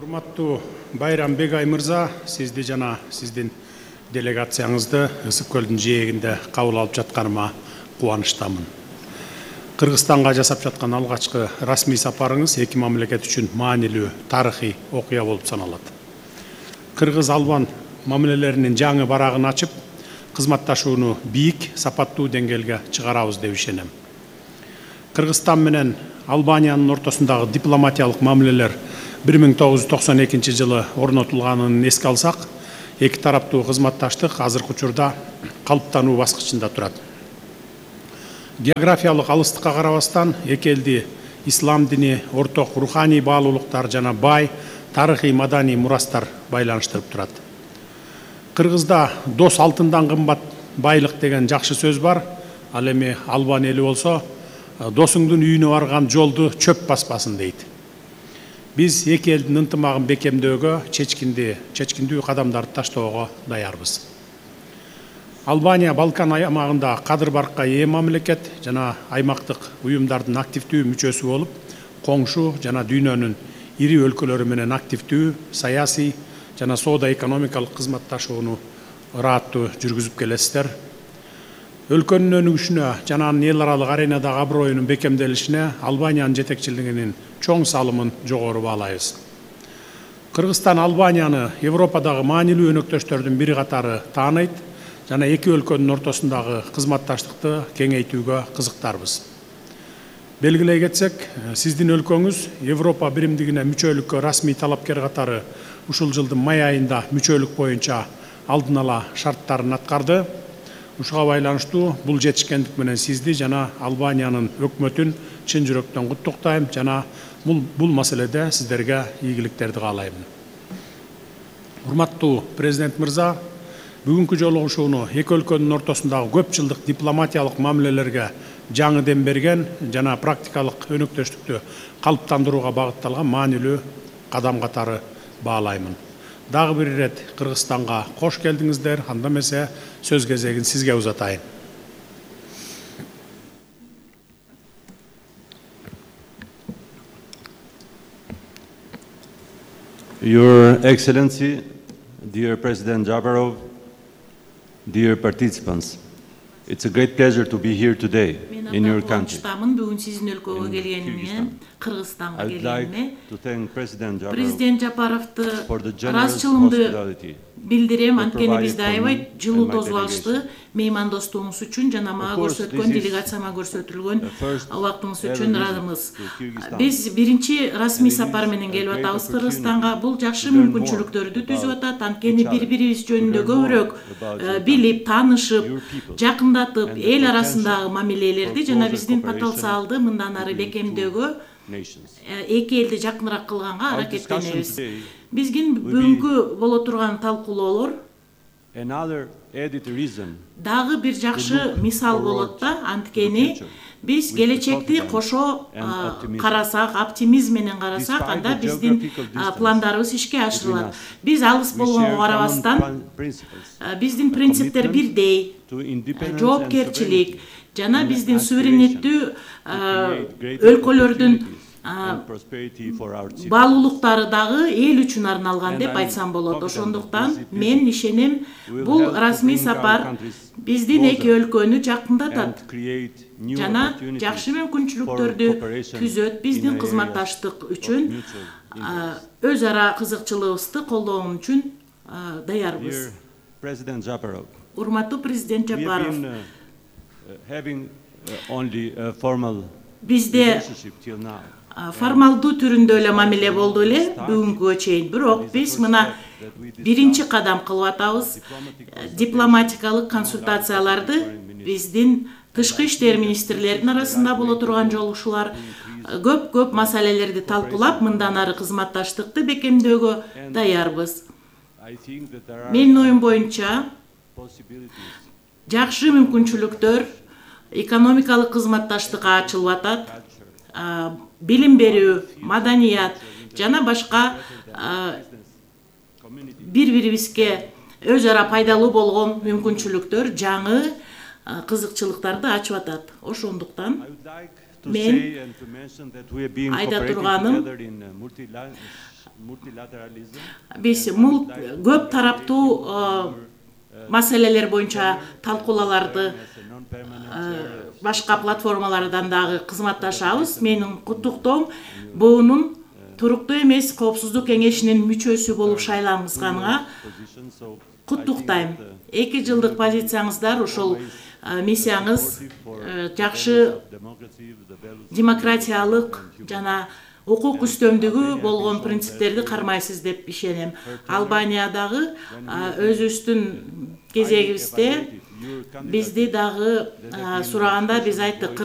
Урматтуу Байрам Бегай мырза, сизди жана сиздин делегацияңызды Ысык көлдүн жээгинде кабыл алып жатканыма кубанычтамын. Кыргызстанга жасап жаткан алгачкы расмий сапарыңыз эки мамлекет үчүн маанилүү тарыхый окуя болуп саналат. Кыргыз-албан мамилелеринин жаңы барагын ачып, кызматташууну бийик, сапаттуу деңгээлге чыгарабыз деп ишенем. Кыргызстан менен Албаниянын ортосундагы дипломатиялык мамилелер 1992 жылы орнотулганын эске алсак, эки тараптуу кызматташтык азыркы учурда калыптануу баскычында турат. Географиялык алыстыкка карабастан эки элди ислам дини, орток руханий баалуулуктар жана бай тарыхый маданий мурастар байланыштырып турат. Кыргызда дос алтындан кымбат байлык деген жакшы сөз бар. Ал эми Албан эли болсо, досуңдун үйүнө барган жолду чөп баспасын дейт. Биз эки элдин ынтымагын бекемдөөгө, чечкиндүү кадамдарды таштоого даярбыз. Албания Балкан аймагында кадыр баркка ээ мамлекет жана аймактык уюмдардын активдүү мүчөсү болуп, коңшу жана дүйнөнүн ири өлкөлөрү менен активдүү саясий жана соода-экономикалык кызматташууну ырааттуу жүргүзүп келесиздер. Өлкөнүн өнүгүшүнө жана анын эл аралык аренадагы аброюнун бекемделишине Албаниянын жетекчилигинин чоң салымын жогору баалайбыз. Кыргызстан Албанияны Европадагы маанилүү өнөктөштөрдүн бири катары тааныйт жана эки өлкөнүн ортосундагы кызматташтыкты кеңейтүүгө кызыктарбыз. Белгилей кетсек, сиздин өлкөңүз Европа биримдигине мүчөлүккө расмий талапкер катары ушул жылдын май айында мүчөлүк боюнча алдын ала шарттарын аткарды. Ушуга байланыштуу бул жетишкендик менен сизди жана Албаниянын өкмөтүн чын жүрөктөн куттуктайм жана бул маселеде сиздерге ийгиликтерди каалайм. Урматтуу президент мырза, бүгүнкү жолугушууну эки өлкөнүн ортосундагы көп жылдык дипломатиялык мамилелерге жаңы дем берген жана практикалык өнөктөштүктү калыптандырууга багытталган маанилүү кадам катары баалаймын. Дагы бир ирет Кыргызстанга кош келдиңиздер. Анда эмесе сөз кезегин сизге узатайын. Your Excellency, dear President Jabarov, dear participants, it's a great pleasure to be here today in your country. I'd like to thank President Jabarov'ты for the generous hospitality. Билдирем, анткени бизде аябай жылуу дозбалыштуу меймандостугуңуз үчүн жана мага көрсөткөн, делегацияма көрсөтүлгөн убактыңыз үчүн ыраазымыз. Биз биринчи расмий сапар менен келип атабыз Кыргызстанга. Бул жакшы мүмкүнчүлүктөрдү түзүп атат. Анткени бири-бирибиз жөнүндө көбүрөөк билип, таанышып, жакындатып, эл арасындагы мамилелерди жана биздин потенциалды мындан ары бекемдөөгө эки элди жакыныраак кылганга аракеттенебиз. Биздин бүгүнкү боло турган талкуулоолор дагы бир жакшы мисал болот да, анткени биз келечекти кошо карасак, оптимизм менен карасак, анда биздин пландарыбыз ишке ашырылат. Биз алыс болгонго карабастан, биздин принциптер бирдей, жоопкерчилик жана биздин суверенеттүү өлкөлөрдүн баалуулуктары дагы эл үчүн арналган деп айтсам болот. Ошондуктан мен ишенем, бул расмий сапар биздин эки өлкөнү жакындатат жана жакшы мүмкүнчүлүктөрдү түзөт. Биздин кызматташтык үчүн өз ара кызыкчылыгыбызды колдоо үчүн даярбыз. Урматтуу президент Жапаров, бизде формалдуу түрүндө эле мамиле болду эле бүгүнкүгө чейин. Бирок биз мына биринчи кадам кылып атабыз. Дипломатикалык консультацияларды биздин тышкы иштер министрлеринин арасында боло турган жолугушуулар көп маселелерди талкуулап, мындан ары кызматташтыкты бекемдөөгө даярбыз. Менин оюм боюнча жакшы мүмкүнчүлүктөр экономикалык кызматташтыкка ачылып атат. Билим берүү, маданият жана башка бири-бирибизге өз ара пайдалуу болгон мүмкүнчүлүктөр, жаңы кызыкчылыктарды ачып атат. Ошондуктан мен айта турганым, Биз көп тараптуу маселелер боюнча талкуулааларды башка платформалардан дагы кызматташабыз. Менин куттуктоом буунун туруктуу эмес коопсуздук кеңешинин мүчөсү болуп шайлангызганга куттуктайм. 2 жылдык позицияңыздар, ошол миссияңыз жакшы демократиялык жана укук үстөмдүгү болгон принциптерди кармайсыз деп ишенем. Албаниядагы өзүбүздүн кезегибизде бизди дагы сураганда биз айттык,